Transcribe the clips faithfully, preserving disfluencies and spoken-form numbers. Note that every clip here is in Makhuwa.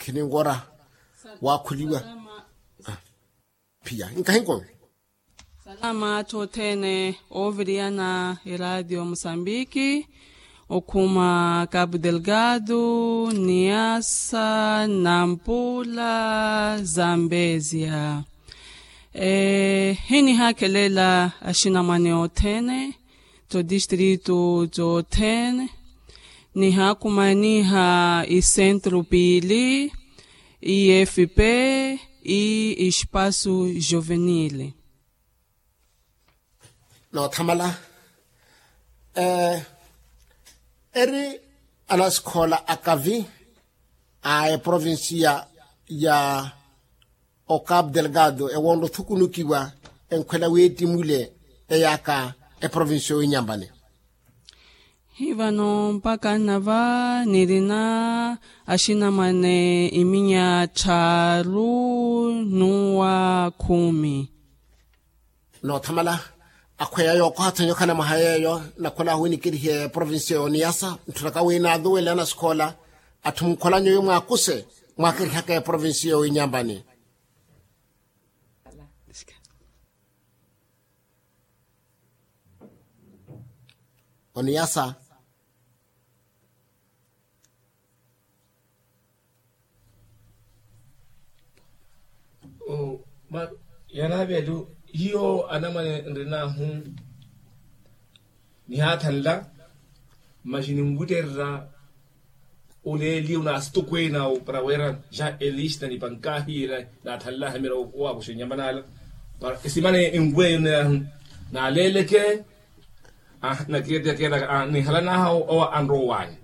Khininkoora waakhuliwa. Phiya nkahinko. Salama atthu othene ooviriyana eraatiyo musambiki, okhuma capu delgado, niasa, nampula, zambezia. Hinihaakhelela axinamwane othene, todistritu tothene, nihaakumaniha isentru piili, ifp, i espasu juvenile. Noothamala. Eri anasikhola akavi a eprovincia ya ocapu delgado ewoonre othukunukiwa enkhwela wiittimule eyaaka eprovincia owinyambani. Hivano mpakha nnava nirina axinamwane iminya tthaaru nuwa khumi. Noothamala. Akhweya yookoha-tho nyokha na mwaha yeeyo nakhola winikerihe provincia yoniyasa ntthunaka wi naaduwele anasikhola atthu munkholanyo wi mwaakuse mwaakerihaka eprovincia yowinyambani. Oniyasa. Yanavelu hiyo anamwane nrinahu. Nihaathanla masi ninwittererya. Oleeliye onaastukwena para wira ja elista nipankahiye naathanlaha mira owaakuxa enyamana ala. Para esimana enweyo naaleeleke. Nakeetekeetaka nihalanaha owa anroowanya.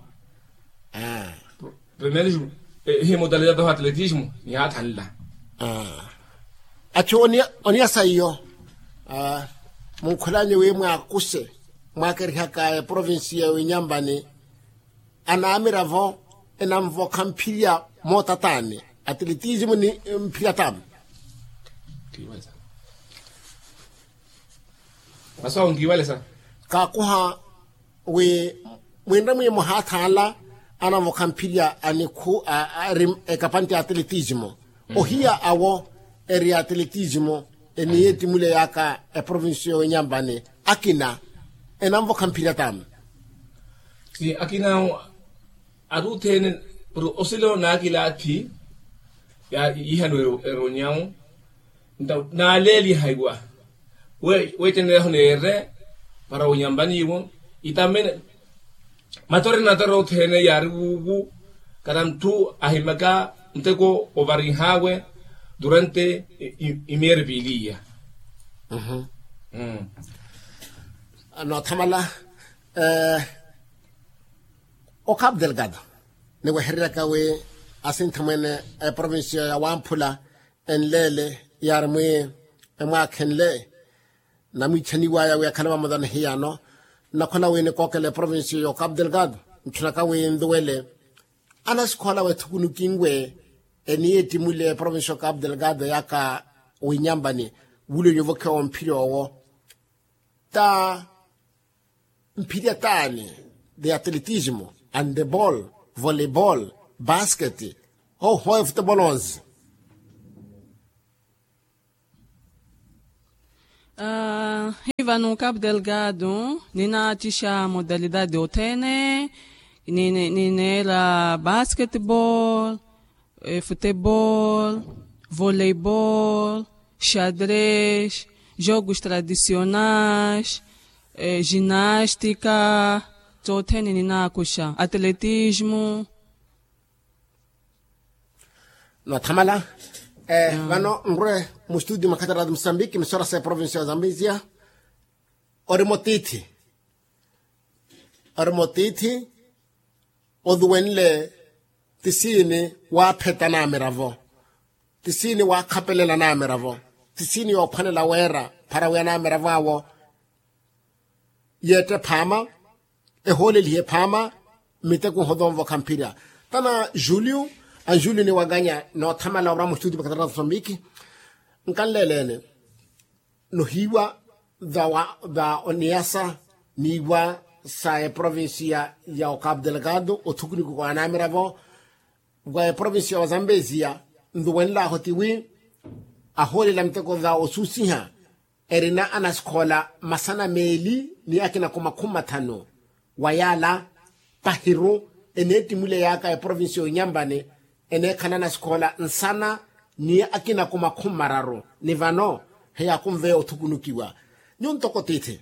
Primero ehi modalidade oho atletismo nihaathanla. Athi oniya saiyo. Munkhulanyo wi mwaakuse mwaakerihaka eprovincia ya winyambani. Anaamiravo enanvokha mphirya mootataani atletismo ni mphirya tamu. Masu awo nkiiwalesa. Kaakuha wi mwinre mwi muhaathanla anavokha mphirya anikhu ari ekapante ya atletismo. Ohiya awo eri atletismo eniyeettimule yaaka eprovincia yowinyambani akina enanvokha mphirya tamu. Si akina awo atuthene. Osilo naakilaathi ya ihano eronyawo. Nta naaleeliha iwa weeceneleho neere para onyambaniwo itamene. Matori natori othene yaari wuuwu kana ntthu ahimaka nteko ovarinhawe durante imieri piili iya. Noothamala. Ocapu delgado niwehereryaka wi asintha mwene eprovincia ya wamphula enleele yaari mwi emwaakhenle namwiichaniwaya wi akhale vamoza ni hiyano. Nnakhola wi nikookela eprovincia ya ocapu delgado ntthunaka wi nduwele anasikhoola weethukunukinwe eniyeettimule eprovincia ya ocapu delgado yaaka winyambani wulonyo vokhewa omphirya owo. Ta mphirya taani? The atletismo, handeball, volleyball, basket, oho efutebol onze. Hivano capu delgado ninaattixa modalidade othene. Nineera basketball, futebol, voleibol, xadres, jogos tradicionais, ginástica, tothene ninaakuxa atletismo. Noothamala. Vano nrwe mustudio mwa khatarati musambiki misora sa eprovincia ya zambezia. Ori motiithi ori motiithi oduwenle tisiini waapheta naamiravo tisiini waakhapelela naamiravo tisiini yoophwanela weera phara wi anaamiravo awo yeette phaama ehoolelihe phaama miteko nhoto onvokha mphirya tana julio anjulio ni wanganya noothamala ora mustudio makatarata somiki nkanleeleene nohiiwa va oniyasa niiwa sa eprovincia ya ocapu delgado othukuniko kwa anaamiravo wa eprovincia wa zambezia nluwenlahu tiwi ahoolela miteko za osuusiha erina anasikhoola masana meeli ni akinako makhumi mathanu. Wa yaala pahiru eneettimuleyaka eprovincia y'onyambani eneekhala anasikhoola nsana ni akinako makhumi mararu ni vano heyaakunveya othukunukiwa. Nyuwo ntoko tiithi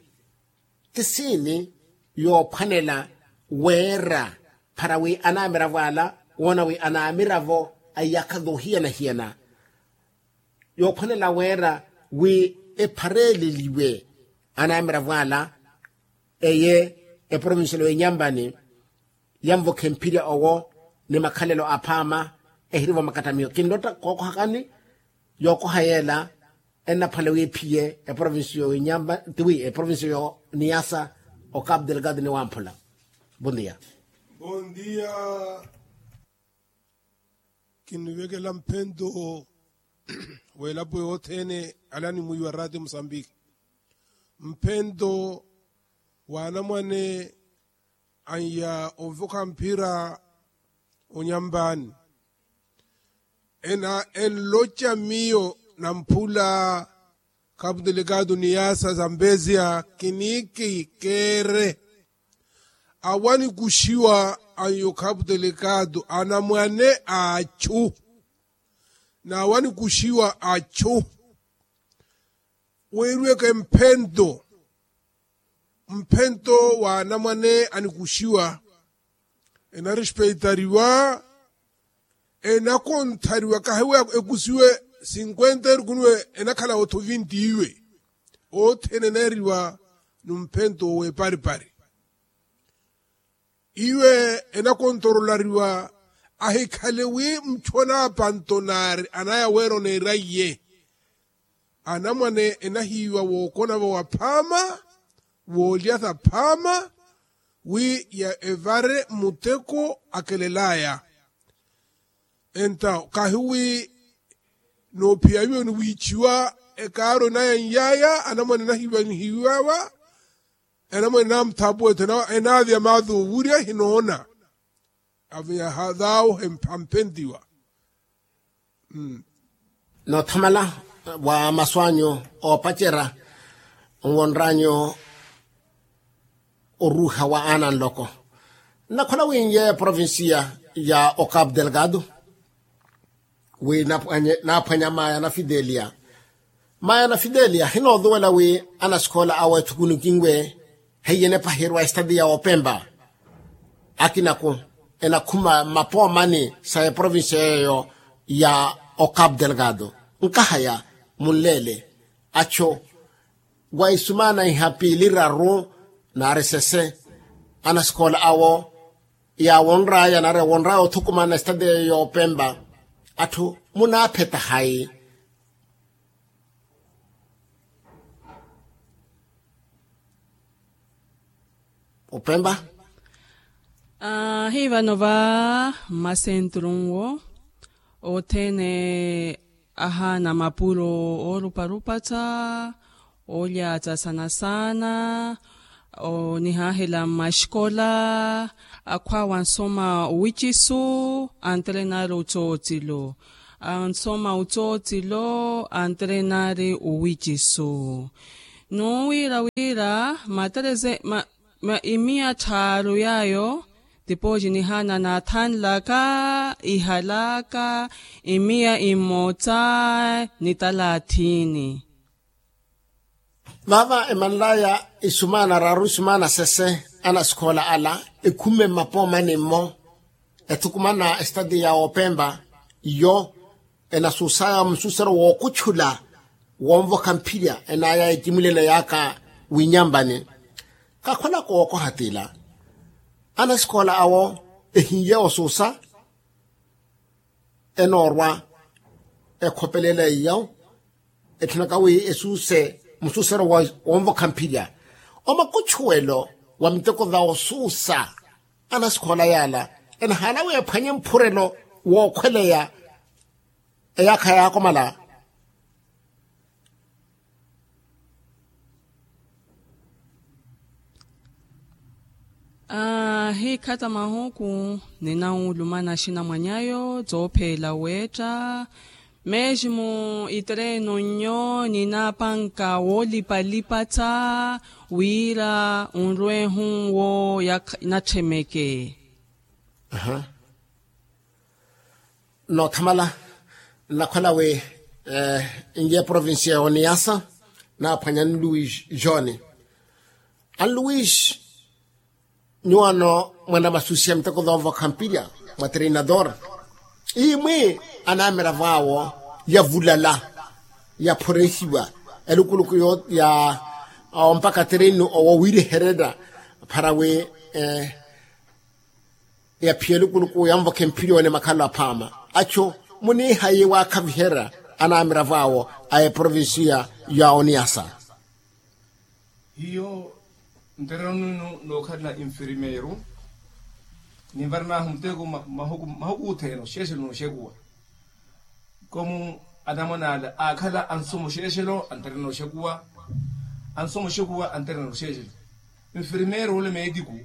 ti siini yoophwanela weera para wi anaamiravo ala woona wi anaamiravo a iyakha yoohiyana-hiyana yoophwanela weera wi ephareeleliwe anaamiravo ala eye eprovincia y'enyambani yanvokhe mphirya owo ni makhalelo aphaama ehirivo makattamiyo kinlotta kookohakani yookoha yeela ennaphwala wi ephiye eprovincia y'enyamba tiwi eprovincia y'eniyasa. Okapu delegado ni wamphula. Bondia. Bondia. Kinivekela mphento w'elapo yothene alani mwiiwa ratio musambiki mphento w'anamwane anya ovokha mphira onyambani ena enloca miyo namphula kapu delegado ni yaasa zambezia kiniiki keere awanikuxiwa anyokhapu delegado anamwane a achu n'awanikuxiwa achu weeriweke mphento mphento w'anamwane anikuxiwa enarespeitariwa enakonthariwa kahiwa ekusiwe sinkwenta erukunuwe enakhala otho vinti iwe othene eneeriwa numphento w'eparipari iwe enakontorolariwa ahikhale wi muchu anaapanto naari anaya weera oneera iye anamwane enahiiwa wookonavo waphaama woolyasa phaama wi ya evare muteko akelelaya enta kahiwi noophiya iwe niwiichiwa ekaaro enaya nyaya anamwane enahiiwa nihiiwawa enamwane enamuthapuwetho enaavya maathu owurya hinoona aviya hathaawo hamphentiwa. Noothamala wa masu anyu oopacerya nwonr'anyu oruuha wa aana nloko nnakhola wi nyeeyo eprovincia ya ocapu delgado wi naaphwanya maaya na fidelia maaya na fidelia hinoothuwela wi anasikhoola awo ethukunukinwe heiye enepaherwa estati ya opempa akinako enakhuma mapoomani sa eprovincia yeeyo ya ocapu delgado nkahaya munleele acho wa isumaana iha piili raru naari sese anasikhoola awo yaawonr'aya naari awonr'aya othukumana esitati eyo yoopempa atthu munaapheta hayi opempa aahivano va mmasentru nwo othene ahaana mapuro ooruparupatta olyaatta saana saana onihaahela mmaxikola akhwaawe ansoma owixisu anterenaari ottootilo ansoma ottootilo anterenaari owixisu nuwiira wiira matereze imiya tthaaru yaayo tipooci nihaana naathanlaka ihalaka imiya immotta ni talaathiini vaava emanlaya isumaana raru isumaana sese anasikhoola ala ekhume mmapoomani-mo ethukumana esitati ya opempa iyo enasuusaya musuusero wookutchula wonvokha mphirya enaya ecimulene yaaka winyambani kakhwela kookoha tila anasikhoola awo ehiye osuusa enoorwa ekhopelele iyo etthunaka wi esuuse musuusero wonvokha mphirya omakutchuwelo wa miteko va osuusa anasikhoola yaala enahaana wi ephwanye mphurelo wookhweleya eyaakha yaakomala Ahikhata mahuku, ninawulumana axinamwanyayo tsoopheela weetta. Meeximu itereeno nnyo ninapanka woolipalipatta wira onrwehu wo natthemeke. Noothamala, nnakhwela wi n'iye provincia ya oniyasa, naaphwanya anluis joni. Anluis, nyuwano mwanamasusiya miteko thoovokha mpilya mwa treinador. Imwi anamiravo awo yavulala, yaphorehiwa elukuluku ya ompaka treinu owo wiirehererya phara wi yaphiya elukuluku yanvokhe mphilyoone makhalo aphaama. Achu muniihayi waakhaviherya anamiravo awo a eprovincia ya oniyasa. Hiyo ntereno nino nookhalana infirmeiro, ninvaranahu muteko mahuku othene oxeexelo nooxekuwa. Komu anamwane ala aakhala ansomo oxeexelo anterena oxekuwa. Ansomo oxekuwa anterena oxeexelo. Infirmeiro ole meetiku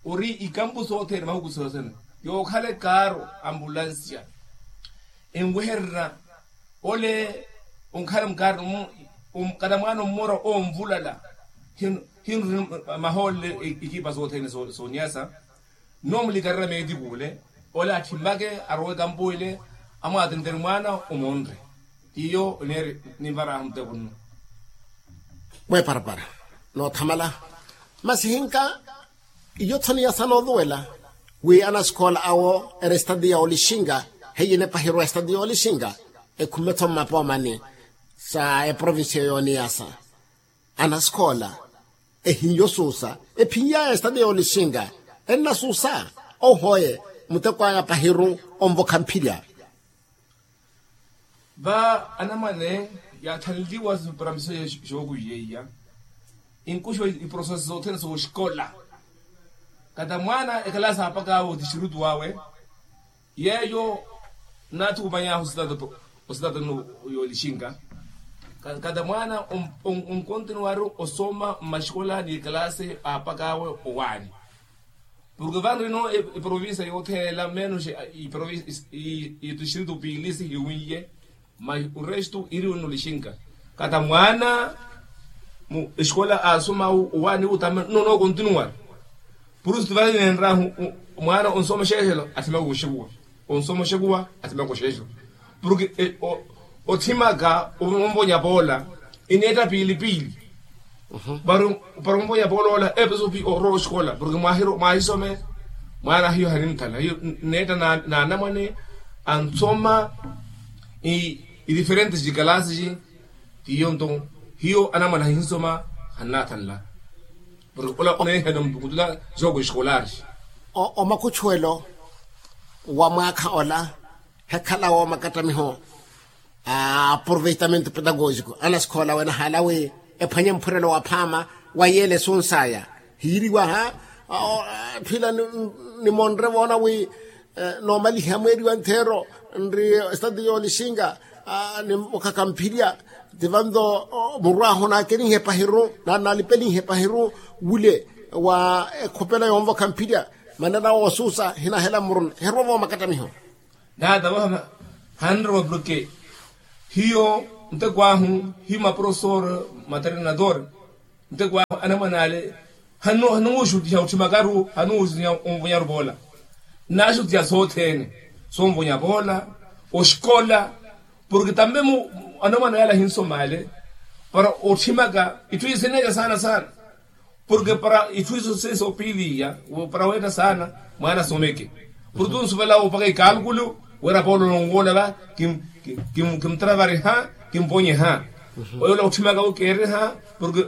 ori ikampu sothene mahuku sothene, yookhala ekaaro, ambulansia, enwehererya ole onkhala mkaari. Kata mwaana ommora onvulala, hinruni mahoolele ikipa sothene sooniyasa. Nnoomulikareera meetiku ole, ole atthimake arowe ekampu ele, amwaatentere mwaana omonre. Iyo oneeri ninvaraahu muteko nno. Mweeparapara noothamala. Masi hinka iyo tho niyasa nooluwela wi anasikoola awo eri estati ya olixinka, heiye enepahirwa estati ya olixinka, ekhume tho mmapoomani sa eprovincia yooniyasa. Anasikoola ehiyo suusa ephinyaya estati ya olixinka, ennasuusa ohoye muteko aya pahiru onvokha mphilya. Va anamwane yaathanliwa siparamiso xookuiya iya, inkuxiwa iproseso sothene sooxikola. Kata mwaana ekalasi aapakaawe otixirutu awe, yeeyo naathukumanyaahu ositata nno yoolixinka. Kata mwaana onkontinuwaru osoma mmaxikola ni ekalasi aapakaawe owaani. Porke vanrino eprovincia yothela menos itistritu piili sihiwinye, mas orestu iriwe nno lixinka. Kata mwaana exikola aasoma owaani utame nno nookontinuwara. Purustu vale neenrahu mwaana onsoma oxeexelo athimaka oxekuwa, onsoma oxekuwa athimaka oxeexelo. Porke othimaka onvonya poola ineetta piili piili. Para onvonya poola ola epeso pi orowa oxikola porke mwahisome. Mwaana hiyo hanimuthanla hiyo, neetta naanamwane ansoma idiferentes cikalasi ci. Tiyo nto hiyo anamwane ahinsoma hannathanla. Porke ola oneehela mutula jogo eskolari. Omakuchuwelo wa mwaakha ola hekhala woomakatamiho a aproveitamento pedagogiko anasikhola wena haala wi ephwanye mphurelo waphaama wa yeele esunsaya. Hiiriwa ha phila nimonre voona wi noomaliha mweeriwa ntheero nri estati yoolixinga ni mukhaka mphilya. Ti vanto murwahu naakelinhe pahiru naalipelihe pahiru wule wa ekhopela yoonvokha mphilya. Manera woosuusa hinahela mmuruna heruwa voomakattamiho. Naata vaha hanrowa porke hiyo nteko ahu hiyo maprofesor matrenador nteko ahu anamwane ale hanuuxutiha otthimakaru hanuuxutiha onvonyaru voola. Naaxutiha sothene sonvonya voola oxikola porke tambe anamwane ale ahinsoma ale para otthimaka itthu isineeca saana saana. Porke para itthu iso sesi opiiliya para weetta saana mwaana asomeke. Porke tunsuvela opaka ikaalkulu wira poolo nonwoola va kimutravariha kimponyeha. Oyo ola otthimaka wi keeriha porke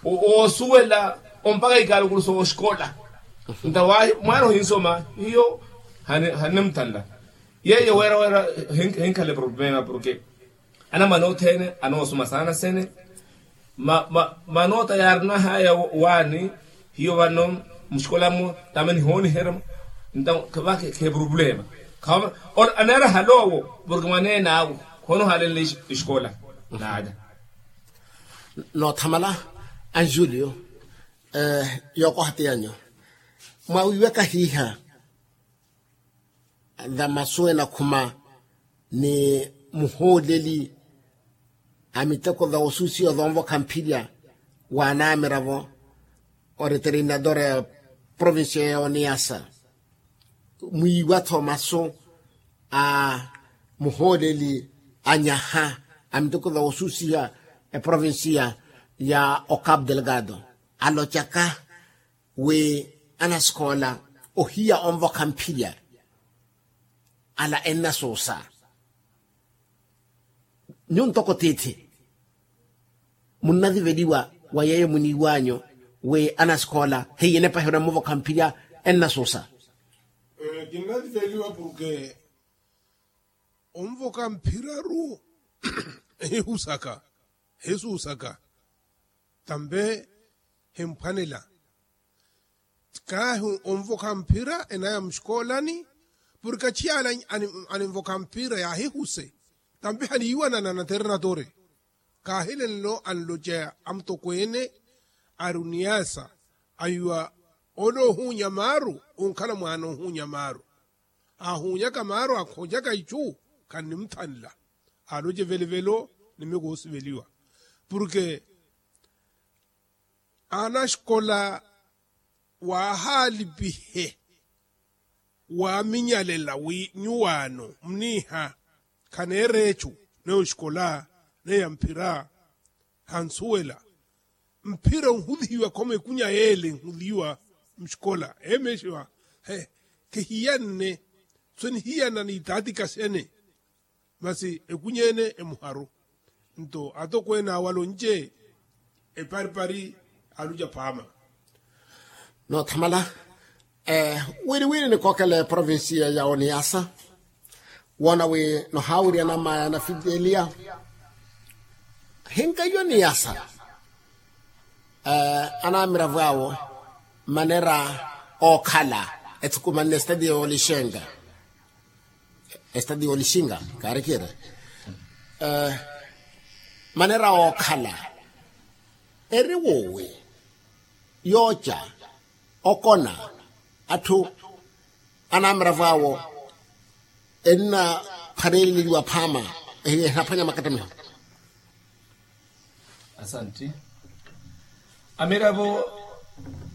oosuwela ompaka ikaalkulu sooxikola. Nta wahi mwaana ohinsoma hiyo hanimuthanla. Yeeyo wira wira hinkhala eproblema porke anamwane othene anoosoma saana sene. Manoota yaarinahaya waani hiyo vano muxikola-mo tame nihooniherya-mo. Nta va kheproblema aneera haloowo porke mwaneene awe khoonohalenle exikola. Naada. Noothamala anjulio yookoha ti yanyu. Mwawiiwaka hiiha, va masu enakhuma ni muhooleli a miteko va osusiwa va onvokha mphirya wa anamiravo, oriterinadora ya provincia ya oniyasa, mwiiwa-tho masu a muhooleli a nyaha a miteko va osusiwa eprovincia ya ocapo delgado, alocaka wi anasikoola ohiya onvokha mphirya ala ennasuusa. Nyuwo ntoko tiithi munnaviveliwa wa yeeyo muniiwanyu wi anasikoola heiye enepa ehirwa mmuvokha mphirya ennasuusa. Kinnaviveliwa porke onvokha mphirya-ru ehihusaka, ehisuusaka, tampe himphwanela. Kaahi onvokha mphira enaya muxikoolani, porke achiyala aninvokha mphira yaahihuse, tampi haniiwanana na ternatori. Kaahilenlo anloceya amutokweene ari oniyaasa, awiiwa ole ohuunya maaru onkhala mwaana ohuunya maaru. Aahuunyaka maaru akhoocaka icu, khannimuthanla. Aaloce velevelo ni miyo koosiveliwa, porke anaxikola waahaalipihe waaminyalela wi nyuwaano muniiha khaneera ecu, neyo xikola neya mphira hansuwela. Mphira onhulihiwa khoma ekunya yeele enhulihiwa muxikola emeexiwa, he, khihiyanne so enihiyana ni itaatika xene. Masi ekunya ene emuharu. Nto atokweene awo alonce eparipari aluca phaama. Noothamala. Wiriwiri nikookela eprovincia ya oniyasa woona wi nohaawirya namaya na fidelia. Hinka iyo oniyasa anamiravo awo manera ookhala ethukumanne estadio olixenga. Estadio olixinga kaarikire manera ookhala eri woowi yooca okona atthu anamiravo awo ennaphwaneleliwa phaama. Enaphwanya makattamiho. Asanti. Amiravo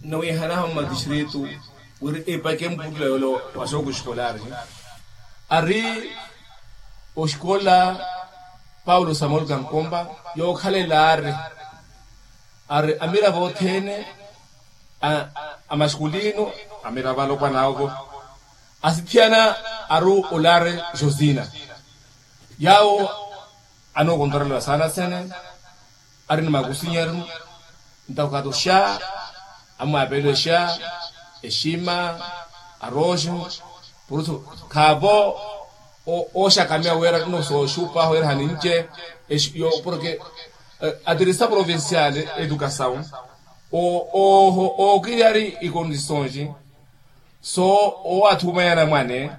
nowihanaha mumatistritu wiri epake mputula yole wa soko eskolari ari oxikola paulo samuel kankomba yookhalela ari ari amiravo othene a maskulino amiravo alopwana awo asithiyana ari olari josina yawo anookontorelewa saana sene ari ni makusinyeru ntakukatoxa amwaapelexa exima aroxo purusu khaavo ooxakamiya wira nno sooxupaho wira hanince porke atirisa provincial educasaw ookiriyari ikondisonji so owathumaya anamwane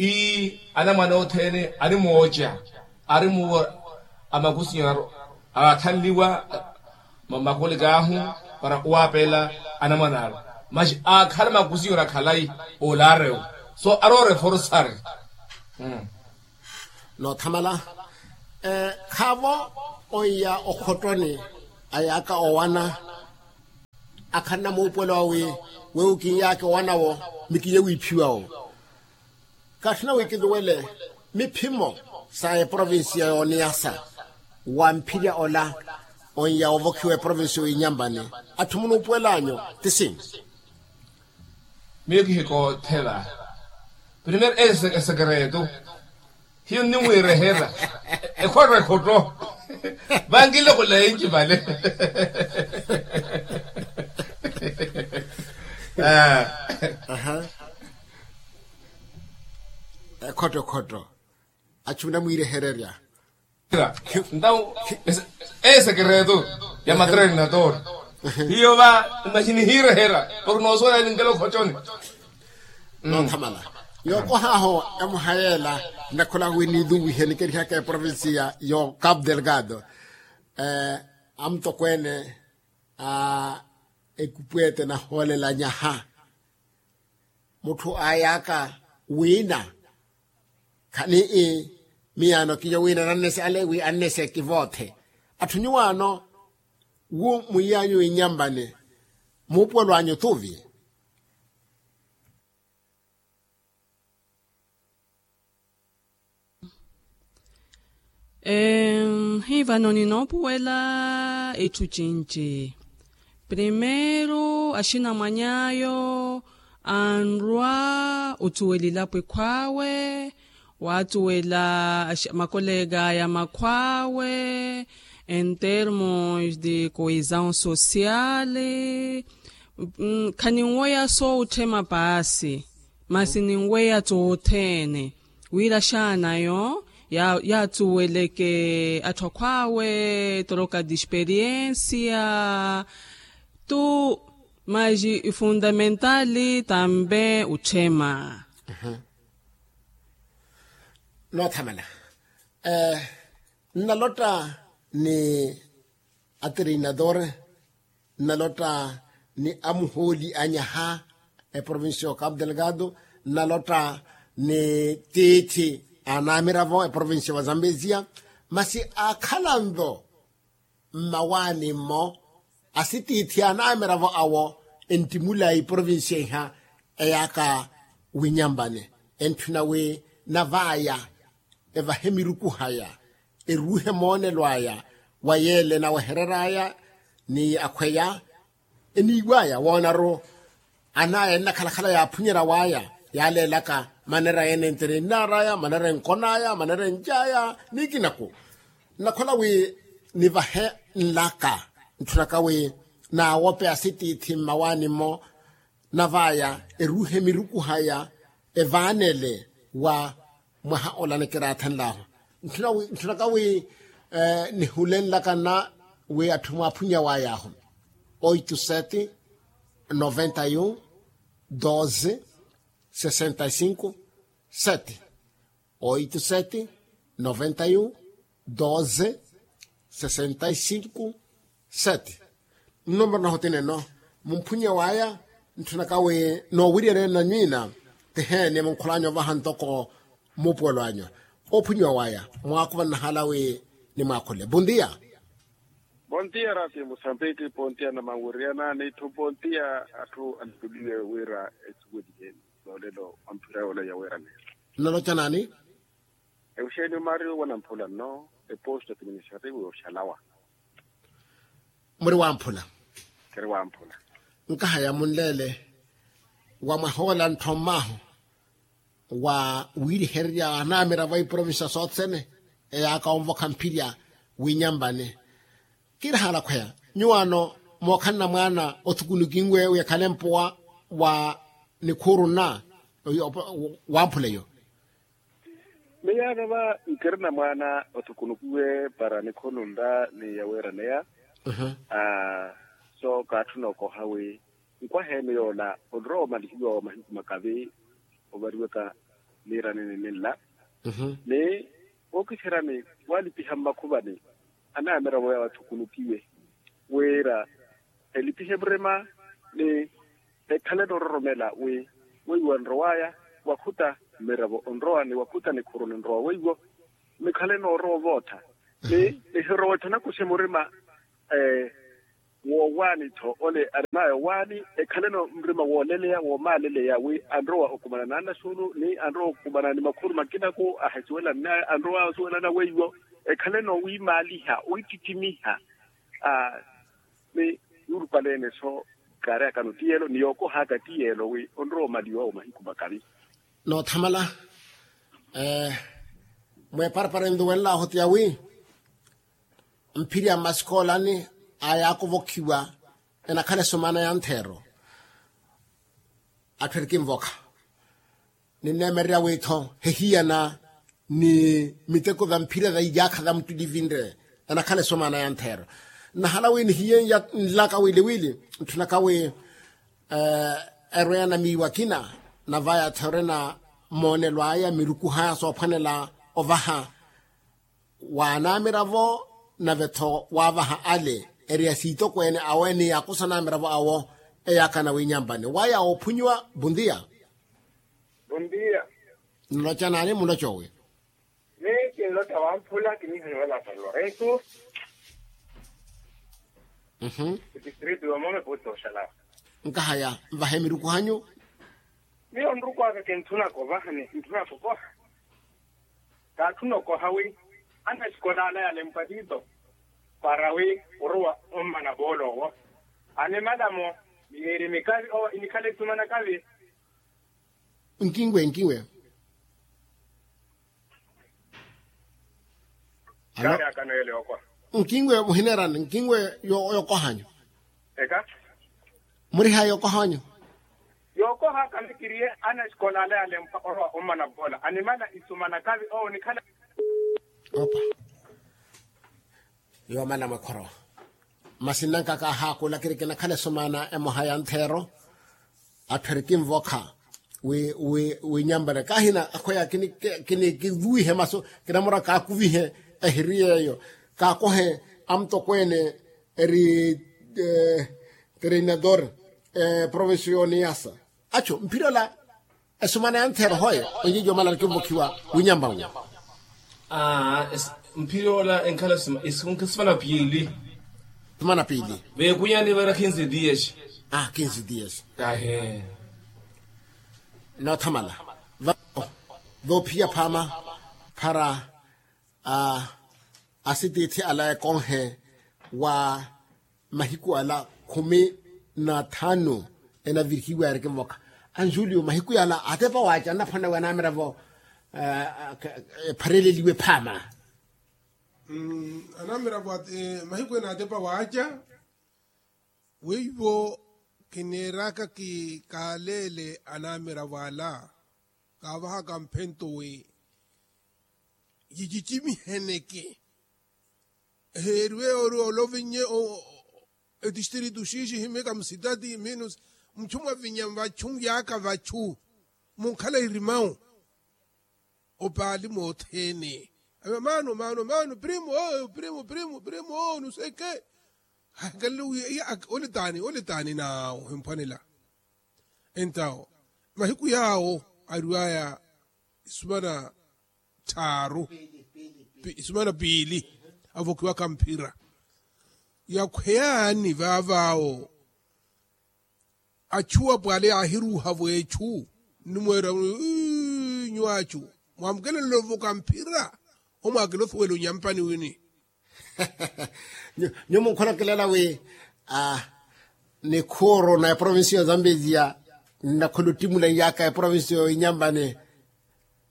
ii anamwane othene ari mooca ari muwo amakusinyero aakhanliwa makolikaahu para owaapela anamwane aru maxi aakhala makusinyero akhalayi olarewo so ari oreforsari. Noothamala khaavo oiya okhottoni ayaaka owana akhanna muupuwelo awi wewo kinyaake owanawo mikiye wiiphiwawo. Kaatthuna wi kiluwele miphimo sa eprovincia yooniyasa wa mphirya ola onya ovokhiwa eprovincia oinyampani atthu munuupuwel'anyu ti sinci? Miyo kihikoothela primero esekreto hiyo nnimwiirehera ekhotto ekhotto vankilokola enci vale. Ekhotto ekhotto achu namwiirehererya. Ntawo esekreto ya matrenador hiyo va imagine hiirehera porke noosoola elinkela okhottoni. Noothamala yookohaho emuhayela nnakholaka wi niiluwihe nikerihaka eprovincia yo capo delgado amutokweene a ekupweete nahoolela nyaha Mutthu aayaka wiina khani-i miyaano kiyo wiina nannese ale wi annese kivoothe. Atthu nyuwaano wu mwiiyanyu inyampani muupuwelo anyu tuvi. Em hivano ninoopuwela itthu cinci. Primeiro axinamwany'ayo anrwa otuwela ilapwe khwawe, waatuwela makolega aya makhwawe, en termos de coesão social. Khaninweya sootthema paasi, masi ninweya toothene wira xaanayo yaathuweleke atthu akhwaawe, troka de experiência tu, mas fundamental também otthema. Noothamala. Nnalotta ni atreinador, nnalotta ni amuhooli anyaha eprovincia wa cabo delgado, nnalotta ni tiithi anamiravo eprovincia wa zambezia. Masi akhalanvo mmawaani-mmo asitiithi anamiravo awo enttimula eprovincia iha eyaka winyampani, entthuna wi navaya evahe mirukuhaya, eruuhe moonelo aya wa yeele enawehereraya ni akhweya eniiwaya woonaru anaya ennakhalakhala yaaphunyerya waya, yaaleelaka manera ene enterennaaraya manera enkonaya manera enjaya nikinaku. Nnakhola wi nivahe nlaka ntthunaka wi naawope asitiithi mmawaani-mmo navaya eruuhe mirukuhaya evaanele wa mwaha ola nikiraathanlahu. Ntthunaka wi nihulenlaka nna wi atthu mwaaphunyaway'ahu oito sete noventa e um doze sessenta e cinco sete. Oito sete noventa e um doze sessenta e cinco sete. Nnumbero nahu tineno mumphunye waya. Ntthunaka wi noowiryerya nna nywiina tiheeni munkhulanyu ovaha ntoko muupuwelo anyu. Oophunyiwa waya mwaakuva nnahala wi nimwaakhule bontia. Bontia ratio musambiki bontia na manwiriyana n'itthu bontia atthu anittuliwe wira esuwelihe. Yoolelo wa mphira yoola yaweeraneya. Nnaloca naani? Euxenio mario wanamphula nno eposto administrativo yoxalawa. Muri wamphula? Kiri wamphula. Nkahaya munleele wa mwahoola nttho mmaahu wa wiirihererya anamiravo a iprovincia sothene eyaaka onvokha mphirya winyampani. Kiri haalakhweya nyuwaano mookhanna mwaana othukunukinwe wi ekhale mpuwa wa nikhuuru nna wamphula eyo. Miyaano va nkirina mwaana othukunukiwe para nikhonunra ni yaweeraneya. So kaatthuna okoha wi nkwaha ene yoola onrowa omalihiwa wa mahiku makavi ovariwaka niirani nininla ni wookiserani waalipiha mmakhuvani anayamiravo yawe athukunukiwe wira elipihe murima ni ekhale noororomela wi weiwo anrowaya wakhuta mmiravo onrowa ni wakhuta nikhuru ninrowa weiwo mikhale noorowa ovootha ni nihirowa etthu anakuxe murima. Woowaani-tho ole arimaya owaani ekhaleno murima wooleleya woomaaleleya wi anrowa okumana n'anaxuulu ni anrowa okumana ni makhuru makinaku ahisuwela nnaye anrowa osuwelana weiwo ekhaleno wiimaaliha wiittittimiha. Ni yuurupaleene-so kaareyakano tiyelo ni yookohaka tiyelo wi onrowa omaliwa wa mahiku makavi. Noothamala mweeparapara enluwenlahu tiya wi mphirya mmasikoolani aya akovokhiwa enakhala esomaana ya ntheero. Atthu erikinvokha ninneemererya wi-tho hehiyana ni miteko va mphira va iyaakha va muttulivinre enakhala esomaana ya ntheero. Nnahala wi nihiyenlaka wili wili ntthunaka wi erweya na miiwa akina na vaya-tho erwena moonelo aya mirukuhaya soophwanela ovaha wa anamiravo nave-tho waavaha ale eri asiitokweene awe ni akusa anamiravo awo eyaakana winyampani waya oophunyiwa. Bontia. Nloca naani muloca owi? Miyo kinloca wamphula kiniihaniwa lasa lorensu. Distritu yomome puti oxala. Nkahaya nvahe miruku hanyu. Miyo nruku aka kinthunaka ovaha ni kinthunaka okoha. Kaatthuna okoha wi ana esikola ala yalempwa tito para wi orowa ommana poolo owo. Animala-mo miyeeri mikavi owo inikhala esumana kavi. Nkinwe nkinwe. Kaari akano ele okoha. Nkinwe muhineerani nkinwe. Yokohanyu. Eka. Muriha yokohanyu. Yokoha kamikiriye ana esikola ala yalempwa orowa ommana poolo animala isumana kavi owo nikhala. Opa. Yoomala mwekhoro. Masi nnanka kaahaakulakiri kinakhala esumaana emoha ya ntheero. Atthu eri kinvokha wi wi winyambale kaahina akhweya kinikivuwihe masu. Kinamura kaakuvihe ehiri yeeyo kaakohe amutokweene eri treinador provincial y'oniyasa. Achu mphira ola. Esumana ya ntheero hoye onyiijo omala nikinvokhiwa winyambanwe. Mphira ola enkhala esumana piili. Sumana piili. Veekunyani vara kinzi dias. Kinzi dias. Ahe. Noothamala. Voophiya phaama para asitiithi ala ekonhe wa mahiku ala khumi na thanu. Enavirihiwa yarikinvokha anjulio mahiku yala atepa waaca annaphwanawe anamiravo ephareleliwe phaama. Anamiravo mahiku ene atepa waaca. Weiwo kineeraka kikaalele anamiravo ala kaavahaka mphento wi yicicimiheneke. Eheeriwe ori olovinnye etistritu xiixi himika musitati minu muchu mwavinya vachu yaaka vachu munkhala irimau. Opaali mothene ave maano maano maano primu primu primu primu nuseke. Hakalelo wi iya olitaani olitaani naawo himphwanela. Entawo mahiku yaawo ariwaya isumana tthaaru isumana piili avokiwaka mphira. Yakhweyaani vaavaawo achu apwale yaahiruuha vweechu nnimweera nyuwaachu mwaamukelela ovoka mphira. Omwaakela osuwela onyampani wini. Nyuwo munkholokelela wi nikhuuru na eprovincia ya zambezia nnakhula ottimula iyaaka eprovincia yoinyampani.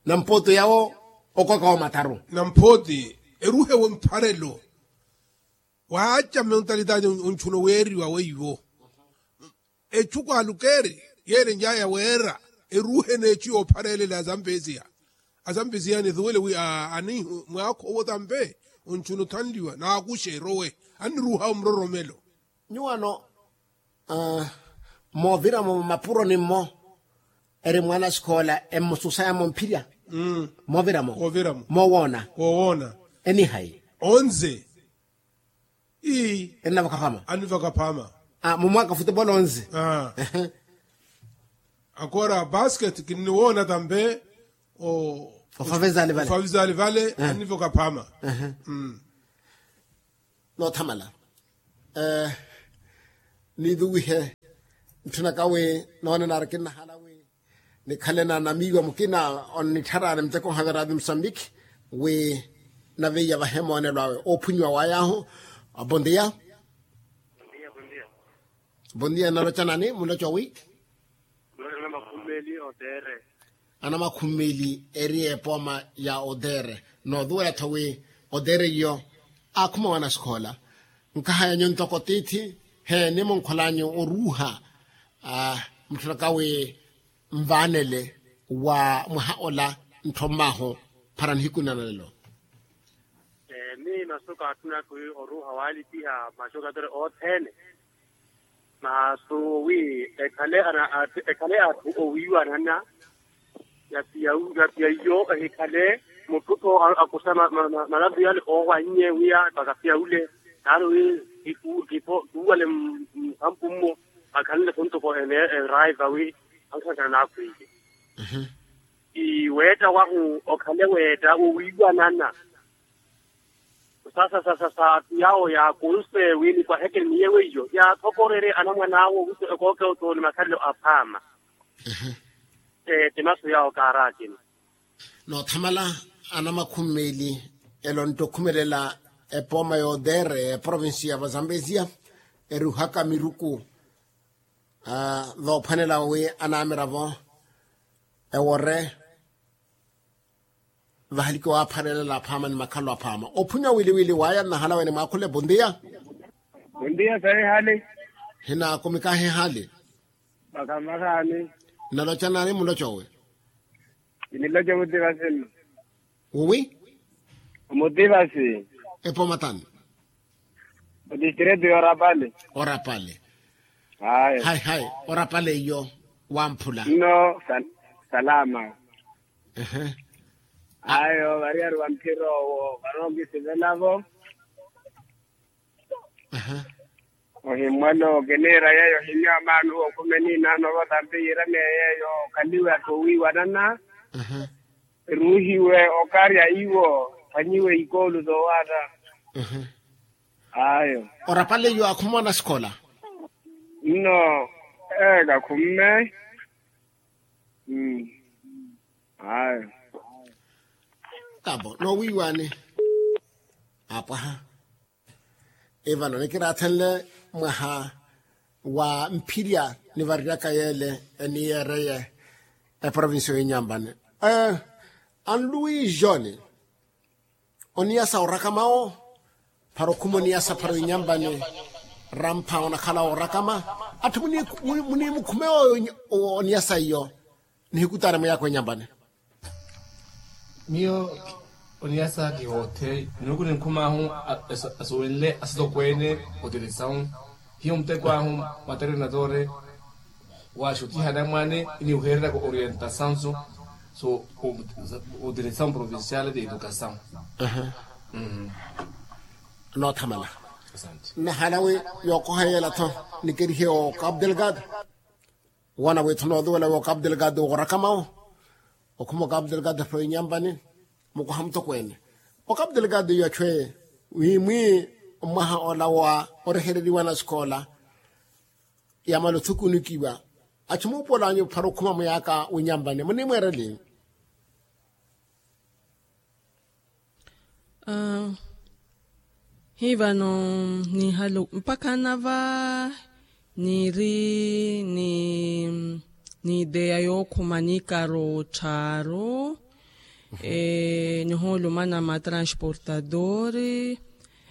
Nampooti yawo okwaka wa mataru nampooti eruhe wempharelo. Waaca mmentalitaati onchuna oweeriwa weiwo echuku alukeeri yeerenjaya weera eruuhe n'echu yoophareelela azampeziya. Azampeziya nisuwele wi ani mwaakho owo tampe onchuna othanliwa naakuxe erowe anniruuha omuroromelo. Nyuwano mooviramo mapuroni-mmo eri mwaana sikoola emmususaya mumphirya. Mooviramo moowoona. Enihayi onze. Ii ennavaka phama annivaka phama. Mumwaka futebolo onzi. Akora basket kinniwoona tampe ofavizali vale annivaka phama. Noothamala niivuwihe ntthunaka wi noonena ari kinnahala wi nikhale na namiiwa mukina onnittharaani muteko nhavera avi musambiki wi naveiya vahe moonelo awe oophunyiwa wayahu. Bondia. Bondia naloca nani muloca wi? Anamakhumeli otere. Anamakhumeli eri epooma ya otere nootuwela-tho wi otere iyo aakhuma wanasikhola. Nkahaya nyu ntoko tiithi he nimunkholanyu oruuha mutthunaka wi nvaanele wa mwaha ola nttho mmahu para nihiku nna nalelo. Miyo masu kaatthunaka wi oruuha waalipiha maxokatore othene. Masu wi ekhale atthu owiiwanana. Yapiya iyo ehikhale mutthu-tho akusa malavi yale oowannye wi mpaka piya ule. Naari wi kipuwale mukhampu mmo akhanle-tho ntoko eraiva wi ankhankana naakhwiiye. Weetta wahu okhale weetta wowiiwanana. Sasa sasa sa atu yawo yaakunse wi nikwahekeleniye weiyo yaathokorerye anamwan'awo wiso ekooke otooni makhalelo aphaama. Ti masu yawo kaarakini. Noothamala anamakhumi meeli elo nttokhumelela epooma yootere eprovinsi ya vazambesia eruhaka miruku. Voophwanela wi anamiravo ewore vahaliki waaphwanelela aphaama ni makhalo aphaama ophunya wili wili waya nnahala wene mwaakhule bondia. Bondia sayi hali. Hinaakumikahi hali. Vakhamakhaani. Nnaloca naani muloca owe? Kiniloca omutivasi nno. Uwi? Omutivasi. Epooma tani? Odistrito y'orapale. Orapale. Hayi hayi. Orapale iyo wamphula nno. Salama. Ayo variyari va mphira owo varookisivelavo. Ohimmwelo kiniira yeeyo ohimmya maanu okhumeni inaano vo tampi yiiramiye yeeyo okhaliwe attowiiwanana. Eruuhiwe okarya iwo. Phwanyiwe ikoolu zoowaatta. Ayo. Orapale iyo akhumwana sikhola. Nno. Ee kakhumme. Ayo. Kabo noowiiwaani. Apwaha. Ivano nikiraathenle mwaha wa mphirya nivariryaka yeele eniyeereye eprovincia y'inyampani. Anluwi joni oniyasa orakama wo. Phara okhuma oniyasa phara inyampani. Rampha onakhala orakama. Atthu muniimukhume oniyasa iyo. Nihikutana muyaka wenyampani. Miyo oniyasa kihoothe minuku ninkhum'ahu asuwenle asitokweene otirisau. Hiyo muteko ahu materinatore waxutiha anamwane iniwuheereryaka orientasaun so otirisau provincial de educasaun. Noothamala. Nahalawi yookoha yeela-tho nikerihe o cabo delgado. Woona withu nooluwela wi okapu delgado worakamawo. Okhuma okapu delgado phara inyampani mukoha mutokweene. Okapu delgado iyo achwe wimwi mwaha ola wa orehereriwa na sikoola yamala othukunikiwa. Achi muupuwela anyu phara okhuma muyaka winyampani munimweereli? Hivano nihalu mpakha nava niri ni ideya yookhuma nikaro tthaaru. Nihoolumana matransportadori.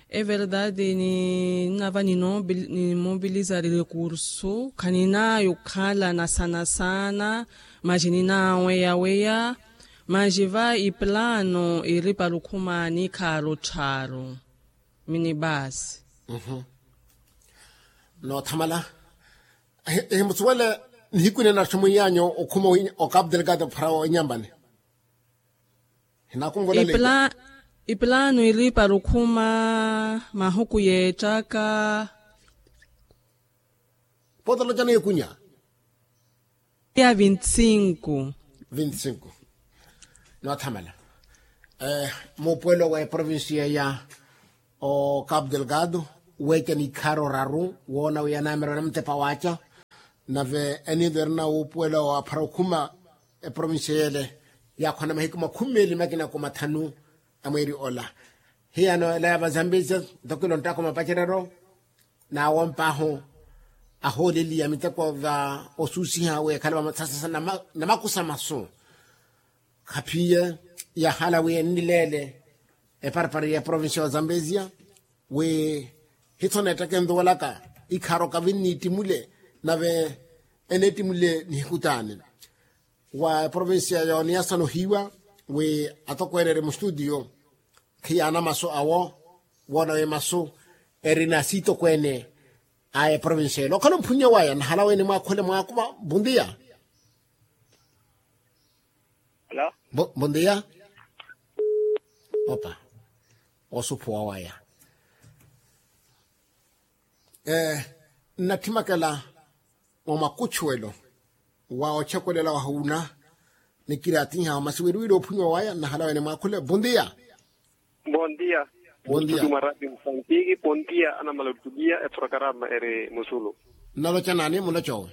Everdade ninava nimobilizari recurso khaninaya okhalana sana sana. Masi ninaweyaweya. Masi va iplano iri para okhuma nikhaaro tthaaru. Minibasi. Noothamala. Ehimusuwele nihiku nene natthu mwiyanyu okhuma okapu delgado phara wenyampani. Hinakumvwela leita. Iplano iri para okhuma mahuku yeettaka. Pootolocana ekunya. Ya vinti cinco. Vinti cinco. Noothamala. Muupuwelo wa eprovincia ya o capu delgado weeca nikhaaro raru woona wi anaamira anamutepa waaca. Nave eniido erina wuupuwelo wa phara okhuma eprovincia yeele yaakhwana mahiku makhumi meeli makina ku mathanu a mweeri ola. Hiyano ela ya vazambizia ntoko ilo nttaka omapacereryo. Naawomp'ahu ahooleliya miteko va osuusiha wi ekhale vamasasasa namakusa masu. Khaphiye yahala wi enileele eparapara ya provincia ya zambezia wi hithona ettaka enduwelaka ikhaaro kavinniittimule nave eneettimule nihiku taani. Wa eprovincia yooniyasana ohiiwa wi atokweene eri mustutiyo khiyaana masu awo woona wi masu erina siitokweene a eprovincia elo okhala omphunnya waya nahala wene mwaakhule mwaakuva. Bondia. Bondia. Opa Osuphuwa waya. Nnattimakela mwa makuchuwelo wa ochekwelelawa huuna Nikiraatiha masi wiriwiri ophunyiwa waya nnahala wene mwaakhule bondia. Bondia. Bondia. Muttuki mwa radio musantiki bondia anamala ottukiya eprokarama eri musulu. Nnaloca naani mulocowe?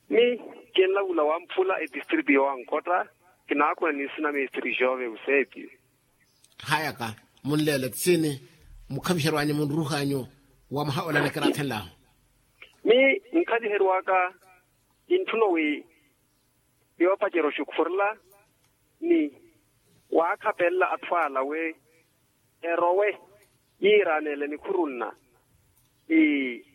Mi kinlavula wamphula etistritu yowankhotta. Kinaakhuna ni nsina mistri jove usepi. Hayaka munleele tsini mukhaviherwanyu munruhanyu wa mwaha ola nikiraathenlahu. Mi nkhaviherwaka kintthuna wi yoopacerya oxukhurela ni waakhapelela atthu ala wi erowe yiiraneele nikhurunna. Ii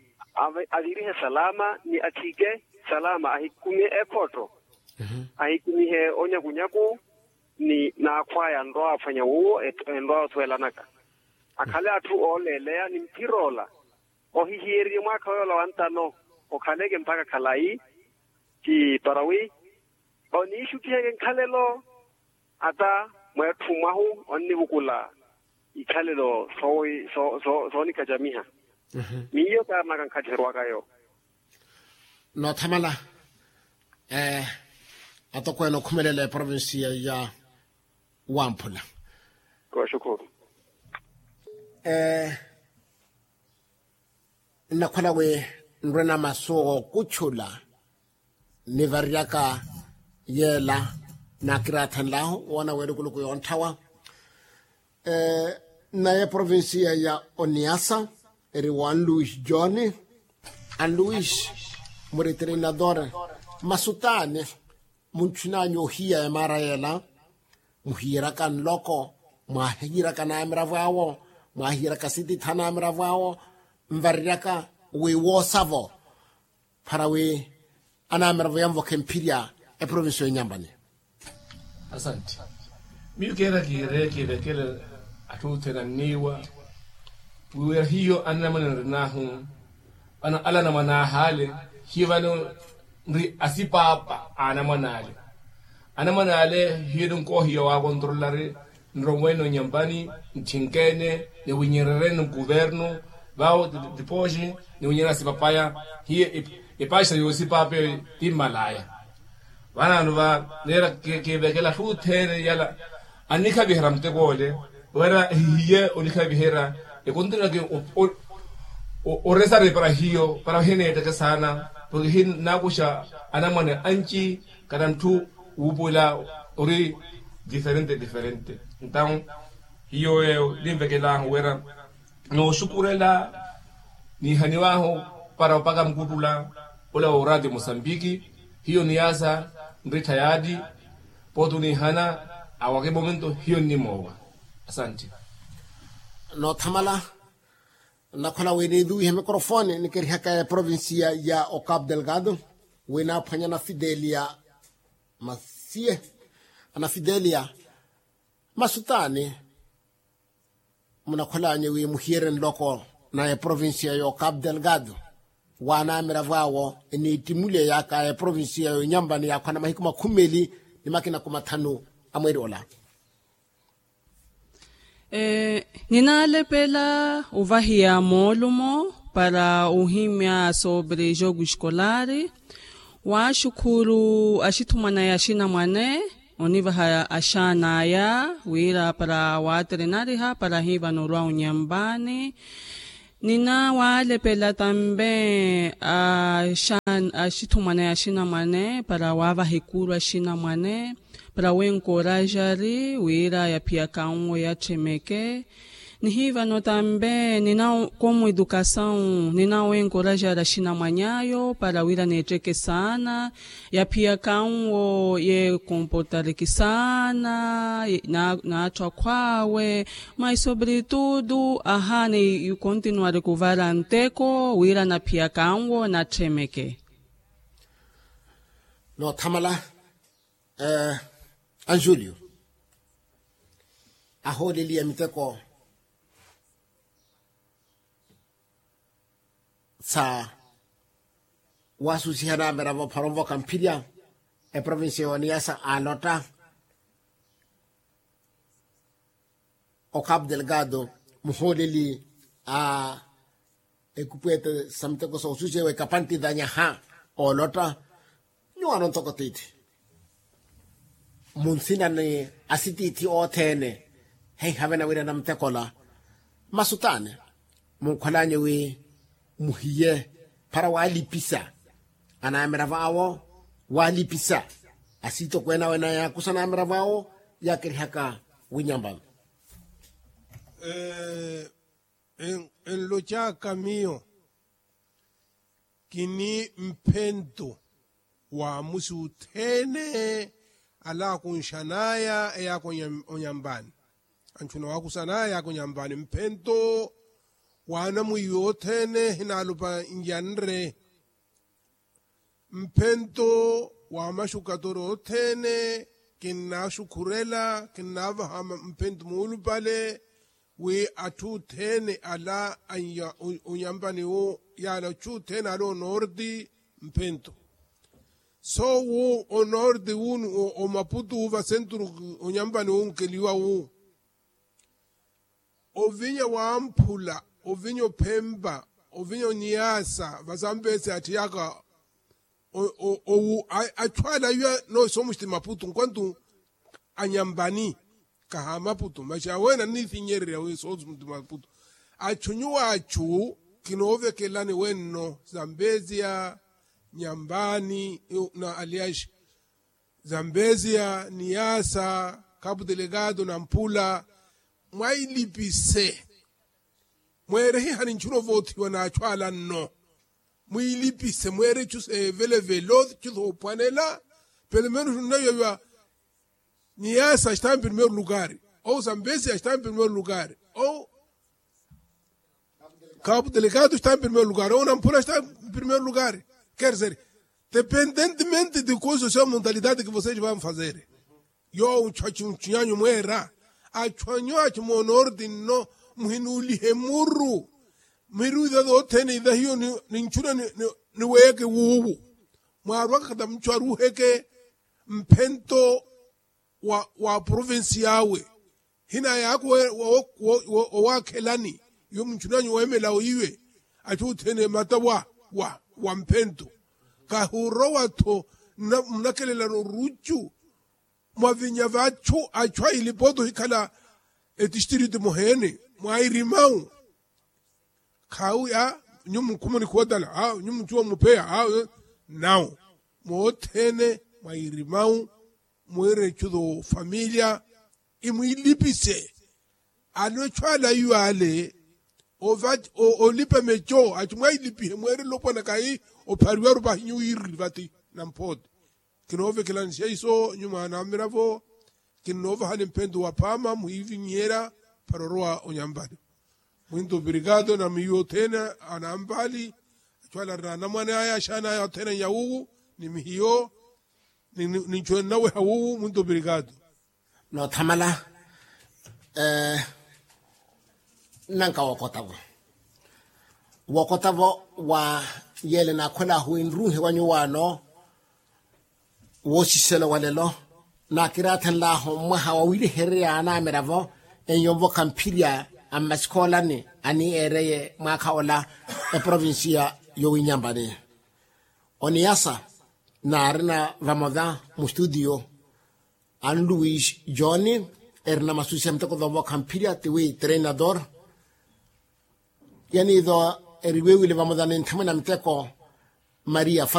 avirihe salama ni athike salama ahikumihe ekhotto ahikumihe onyakunyaku ni naakhwaya anrowaaphwanya wuwo enrowaya osuwelanaka akhale atthu ooleeleya ni mphir'ola ohihiyeriye mwaakha w'ola wantano okhaleke mpakha khalayi. Ti para wi oniixuttiheke nkhalelo ata mweetthu mwahu onnivukula ikhalelo soonikacamiha. Miyo kaarinaka nkhattiherwaka yo. Noothamala atokweene okhumelela eprovincia ya wamphula. Kooxukhuru. Nnakhwela wi nrwena masu ookutchula nivaryaka yeela naakiraathanlahu woona weelukuluku yoonthawa. Nnaye provincia ya oniasa eri wa anluis john. Anluis, muritrinador, masu t'ani muntthun'anyu ohiya emaara yeela? Muhiyeraka nloko, mwaahiyeraka anaamiravo awo, mwaahiyeraka sititha anaamiravo awo, nvareryaka wi woosavo para wi anaamiravo yanvokha emphirya eprovincia y'onyampani. Asanti. Miyo keera kiire kivekele atthu othene anniiwa wi wira hiyo anamwane nrinahu vano ala anamwane ahaale hiyo vano nri asipaapa a anamwane ale. Anamwane ale hiyo ninkoohiya waakontrolari nroweene onyampani ntthinkeene niwinyerereene nkuvernu vaawo tipooxi niwinyerera sipapaya hiyo epaxira yoosipaapa eyo timmalaya. Vanaano va neera kivekela atthu othene yala annikhaviherya muteko ole wira ehihiye onikhaviherya ekontinaki oresari para hiyo para hineetteke saana porke hinaakuxa anamwane anci kana ntthu wuupuwela ori diferente diferente. Ntawu hiyo eyo ninvekelaahu wira nooxukurela niihaniwaahu para opaka mukuttula ola wa oraati musambiki hiyo niyaasa nrittha yaati pooti oniihana awaka emomento hiyo nnimoowa. Asanti. Noothamala nnakhwela wi niiduwihe mikrofoni nikirihaka eprovincia ya ocapo delgado wi naaphwanya anafidelia masiye anafidelia masu t'ani munakhwel'anyu wi muhiyerye nloko na eprovincia y'ocapo delgado wa anaamiravo awo eniittimuleyaka eprovincia y'onyampani yaakhwana mahiku makhumi meeli ni makina kumathanu a mweeri ola. Ninaalepela ovahiya moolumo para ohimya sobre jogo escolar. Waaxukhuru axithumwana ya axinamwane onivaha axaan'aya wira para waaterinariha para hiivano orwa onyampani. Nina waalepela tambe axithumwana ya axinamwane para waavaha ekuru axinamwane para wenkorajari wira yaphiyaka nwo yatthemeke. Nihiivano tambe nina komu edukasawu nina wenkorajari axinamwany'ayo para wira neetteke saana yaphiyaka nwo yekomportareke saana n'atthu akhw'awe. Mas sobretudo ahaana ikontinuwareke ovara nteko wira naphiyaka nwo natthemeke. Noothamala anjulio ahooleliye miteko sa waasusiha naamera voophara onvoka mphirya eprovincia yooniyasa alotta. Ocapo delgado muhooleli a ekupweete sa miteko soosusewa ekapanti danyaha oolotta. Nyuwaano ntoko tiithi. Munsina ni asitiithi othene heihavena wira namutekola. Masutaani munkholanye wi muhiye para walipisa anamiravo awo, walipisa asitokweene awe na yakusa anamiravo awo yakirihaka winyamba. Enlocaaka miyo kini mphento wa musi othene ala akunxanaya eyaaka onyambani. Anchuna wakusanaya eyaaka onyambani mphento wa anamwiiyo othene hinaalupa nyanre. Mphento wa maxukatori othene kinnaxukhurela kinnaavaha mphento muulupale wi atthu othene ala anya onyampani wu yaala atthu othene ala onorti mphento. So wu onorti wunu omaputu wu vasenturu onyampani wu nkeliwa wu ovinya wamphula ovinya ophempa ovinya oniyaasa vasambesi atthiyaka. Owu atthu ala iwa noosoomuxiti maputu nkwantu anyampani kaha maputu maxi aweene anniithinyererya wi soomuxiti maputu. Atthu nyuwo atthu kinoovekelani wenno zambeziya nyampani na aliaxi zambeziya niyaasa kapu delegado na mpula mwailipise mweere hihani ntchuna ovoothiwa n'atthu ala nno. Mwiilipise mweere itthu seevelevelo itthu soophwanela. Pelo menos nnawiwa niyaasa axitaampi primeiro lugari ou sambesia axitaampi primeiro lugari ou kapu delegado axitaampi primeiro lugari ou namphula axitaampi primeiro lugari. Kerser dependentemente de coisa sua montalidade ke voseis vão fazer yoowo nchwa chunchunyanyu mweera. Achwanyu achi moonorti nno muhinuulihe muru miru ithatu othene ithahiyo ni nchuna ni weeke wuuwu mwaarwaka khata muchwaruheke mphento wa provinsi yaawe hinayaaka owaakhelani iwe munchunanyu weemela oiwe. Achu othene mata wa wa mphento kahurowa-tho munakelelana oruchu mwavinya vachu achu ailipotu hikhala etistritu muheene mwairimawu. Khaawi a nyumu nkhumuni khuwatala a nyumu nchuwa mupheya a nawu moothene mwairimawu mwiire nchutu familya imwiilipise. Alechu ala iwaale olipa mecho achu mwailipihe mweerele opwana kahi ophariwaru pahi nyuwiiriri vati na mphoote. Kinoovekelani seiso nyuma anamiravo kinnoovahani mphento wa phaama muhiivinyihela para orowa onyampali. Mwinto obrigado na miyo othene anampali achu ala arina anamwane aya axaana aya othene anyawuwu ni mihiyo ninchwene nnaweha wuwu mwinto obrigado. Noothamala nnanka wookotavo wookotavo wa yeele naakhwelaahu wi nruuhe wa nyuwaano woosiselo wa lelo naakiraathenlaahu mwaha wa wiilehererya anamiravo enyo nvokha mphirya a mmasikhoolani aniiyeereye mwaakha ola eprovinsiya yowinyambani. Oniyasa naarina vamola mustutiyo anluwis joni erina masusi a miteko thoovokha mphirya tiwi treinador. Yaniitho eriwewile vamola ni nthamwene a miteko maria